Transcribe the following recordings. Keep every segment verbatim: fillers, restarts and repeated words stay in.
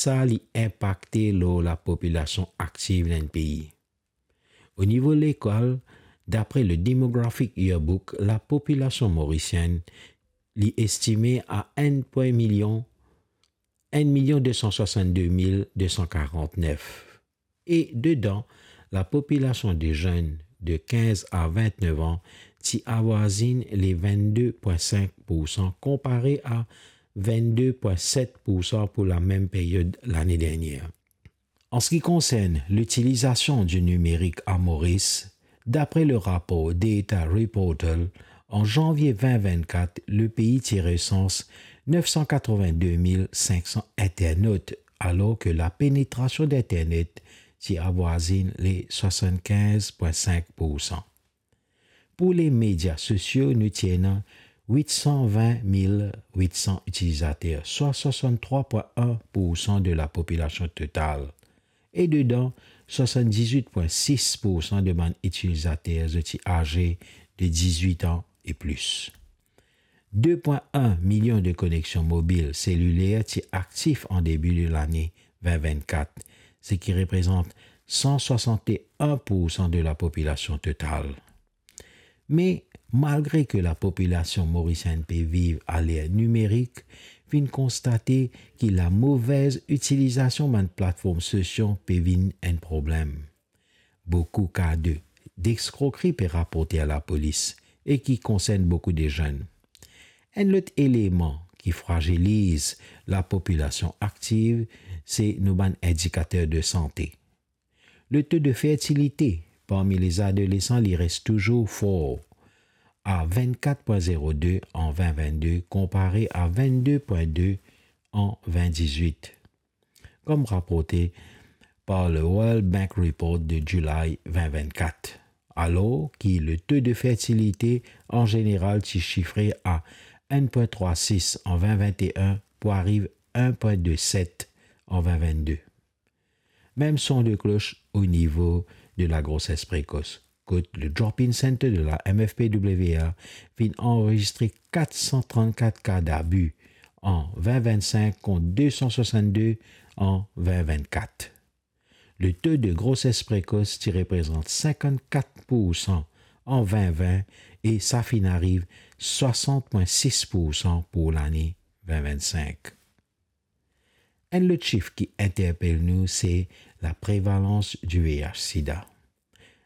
sa li inpakte lor lapopilasion aktiv dan enn pei. O nivo lekol, dapre le Demographic Yearbook, lapopilasion morisienn li estime a enn pwin milion, enn milion de san swasann-de mil de san karant-nef. E dedan, lapopilasion de zenn de kinz a vintnef an ti avwazinn le vennde pwin sink poursan, konpare a vennde pwin set poursan pou lamem period lane dernier. An se ki konsern litilizasion di nimerik a Moris, dapre le rapor Data Reportal, an zanvie vin vinn-kat, lepei ti resans nef san katrovin-de mil sink san internot, alor ki lapenetrasion Internet ti avwazinn le swasann-kinz pwin sink poursan. Pou le media sosio, nou ti ena wit san vin mil wit san itilizater, swa swasann-trwa pwin enn poursan de lapopilasion total. E dedan, swasann-diz-wit pwin sis poursan de bann itilizater zot ti aze de diz-wit an e plis. De pwin enn milion de koneksion mobil seliler ti aktif an debi de lane vin vinn-kat, seki reprezant san swasann-enn poursan de lapopilasion total. Me, malgre ki lapopilasion morisienn pe viv aler nimerik, finn konstate ki lamove itilizasion bann platform sosio pe vinn enn problem. Boukou ka de, de eskrokri pe raporte a lapolis e ki konsern boukou de zenn. Enn lot eleman ki fraziliz lapopilasion aktiv, se nou bann indikater de sante. Le to de fertilite parmi les adolescents li res touzour for, a vinn-kat pwin zerode an vin vinn-de, konpare a vinn-de pwin de an vin diz-wit. Kom raporte par le World Bank Report de July vin vinn-kat, alor ki le to de fertilite an zeneral ti sifre a enn pwin trwa sis an vin vinn-e-enn pou ariv enn pwin de set an vin vinn-de. Mem son de klos o nivo de lagroses prekos, kot le Drop-in Center de la M F P W A finn anrezistre kat san trant-kat ka dabi an vin vinn-sink kont de san swasann-de an vin vinn-kat. Le to de groses prekos ti reprezant sinkant-kat poursan an vin vinn e sa finn ariv swasant pwin sis poursan pou lane vin vinn-sink. Enn lot sif ki interpel nou, se laprevalans di V I H sida.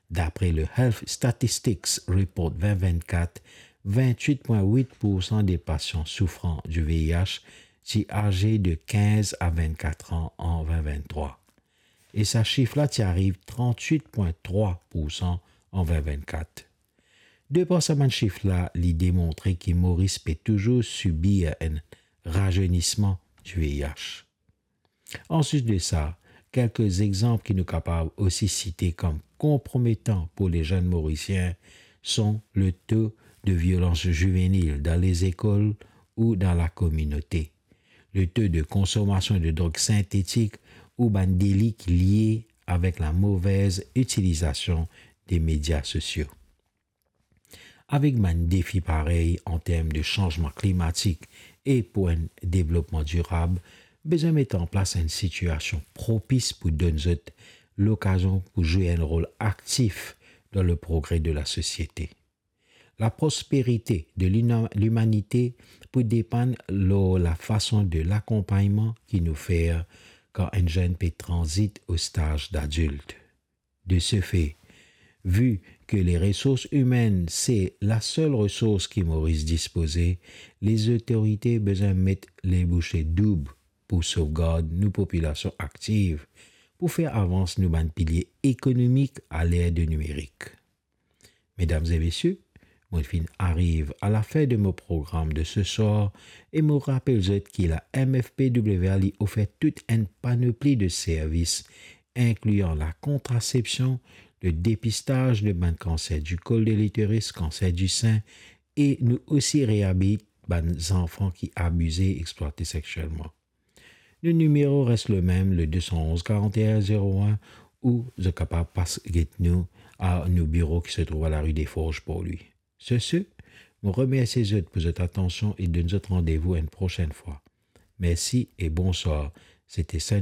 Dapre le Health Statistics Report vin vinn-kat, vinn-wit pwin wit poursan de pasian soufran di V I H ti aze de kinz a vinn-kat an an vin vinn-trwa. E sa sif la ti ariv trant-wit pwin trwa poursan an vin vinn-kat. De par sa bann sif la, li demontre ki Moris pe touzour sibir enn razeynisman di V I H. Anplis de sa, kelke exanp ki nou kapav osi site kom konprometan pou lezenn morisien son le to de violans zivenil dan lezekol ou dan lakominote, le to de konsomasion de drog sintetik ou bann deli ki lie avek lamove itilizasion de media sosio. Avek bann defi parey an term de sanzman klimatik e pou enn devlopman dirab, bizin met an plas enn sitiasion propis pou donn zot lokazion pou zwe enn rol aktif dan le progre de lasosiete. Laprosperite de lina-, limanite pou depann lor lafason de lakonpagnman ki nou fer kan enn zenn pe tranzit o staz dadilt. De se fe, vi ki le resours imenn se lasel resours ki Moris dispoze, lezotorite bizin met lebousie doub pou sovgard nou popilasion aktiv, pou fer avans nou bann pilie ekonomik aler de nimerik. Medam e mesie, mo finn ariv a lafin de mo program de seswar e mo rapel zot ki la M F P W A li ofer tout enn panopli de servis, inklian lakontrasepsion, le depistaz de bann kanser di kol de literis, kanser di sin, e nou osi reabilit bann zanfan ki abize, explwate seksielman. Nou nimero res lemem, le de san onz karant-enn zewo enn, ou zot kapav pas get nou a nou biro ki se trouv a lari de Forz, Porlwi. Sur ce, mo remersie zot pou zot atansion e donn zot randevou enn prosenn fwa. Mersi e bonswar. Sete Saint